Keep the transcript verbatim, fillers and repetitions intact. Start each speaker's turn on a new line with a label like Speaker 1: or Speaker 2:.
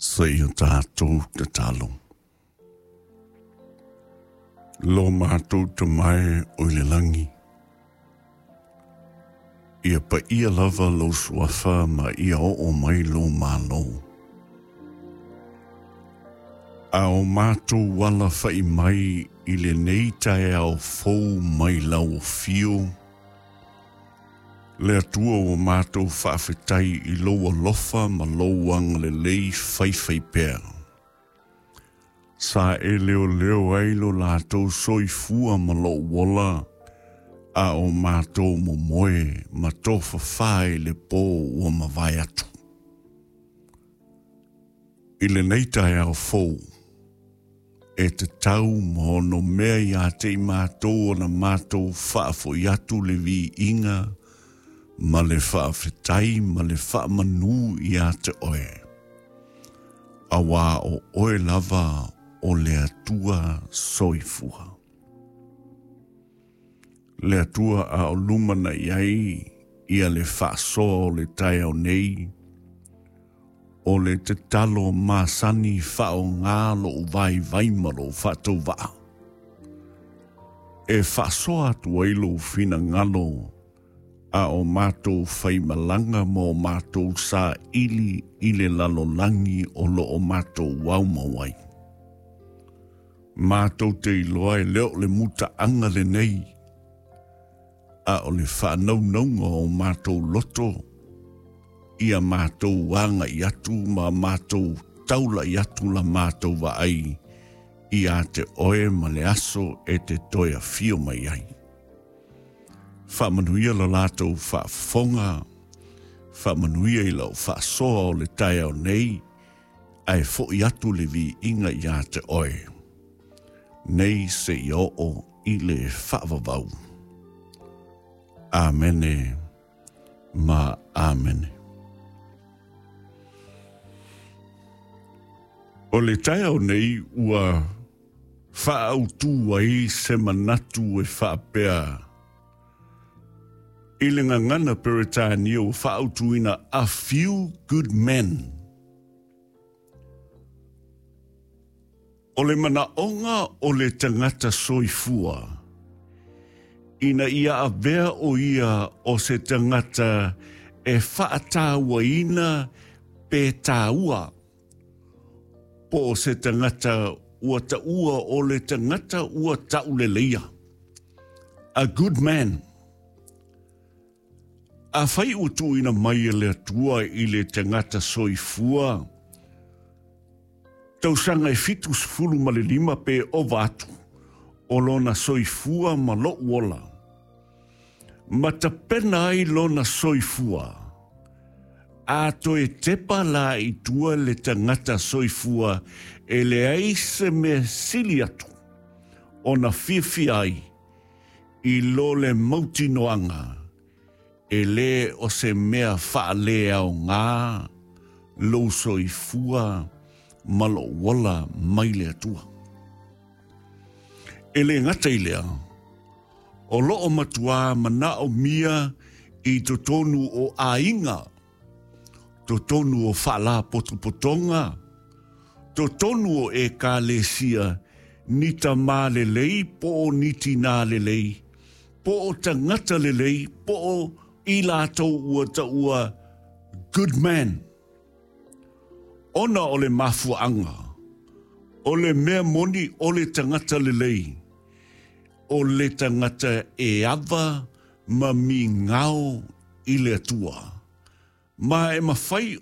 Speaker 1: Seia tatou tatalo. Lo matou Tama e o i le lagi, ia paia lava lou suafa ma ia oo mai lou Malo. A o matou alafa'i mai i lenei taeao fou mai lau afio, le Atua ua matou faafetai i lou alofa ma lou agalelei faifaipea. Sa e leoleo ai lo latou soifua ma lou ola, a o matou momoe ma tofafā i le pō ua mavae atu. I lenei taeao fou, e tatau ma onomea ia te i matou ona matou faafoi atu le viiga ma le faafetai ma le faamanu ia te oe. Auā o oe lava o le Atua soifua. Le Atua a o lumana'i ai ia le faasoa o le taeao nei, o le tatalo masani faaaogā lou vaivai ma lou faatauvaa. E faasoa atu ai lou finagalo a o matou faimalaga ma o matou saili i le lalolagi o loo matou aumau ai. Matou te iloa e le o le mutaaga lenei, a o le faanaunauga o matou loto, ia matou agai atu ma matou taula'i atu la matou vaai ia te oe ma le aso e te toe afio mai ai. Faamanuia lo latou faafofoga, faamanuia i lau faasoa o le taeao nei, ae fo'i atu le viiga ia te oe. Nei seia oo i le faavavau. Amene ma amene. O le taeao nei ua faaautu ai se manatu e faapea i le gagana Peretania ua faaautuina a few good men. O le manaoga o le tagata soifua, ina ia avea o ia o se tagata e faatauaina pe taua, po o se tagata ua taua o le tagata ua tauleleia. A good man. Afai ua tuuina mai e le Atua i le tagata soifua, tausaga e fitu sefulu ma le lima pe ova atu, o lona soifua ma lou ola, ma tapena ai lona soifua, a toe tepa la i tua le tagata soifua e leai se mea sili atu, ona fiafia ai i lo le mautinoaga, e lē o se mea faaleaogā lou soifua ma lou ola mai le Atua. E lē gata i lea, o loo matuā manaomia i totonu o aiga, totonu o faalapotopotoga, totonu o ekalesia, ni tamā lelei po o ni tinā lelei, po o tagata lelei, po o i latou ua taua good man. Ona o le mafuaaga, o le mea moni o le tagata lelei, o le tagata e ava ma migao i le Atua. Ma e mafai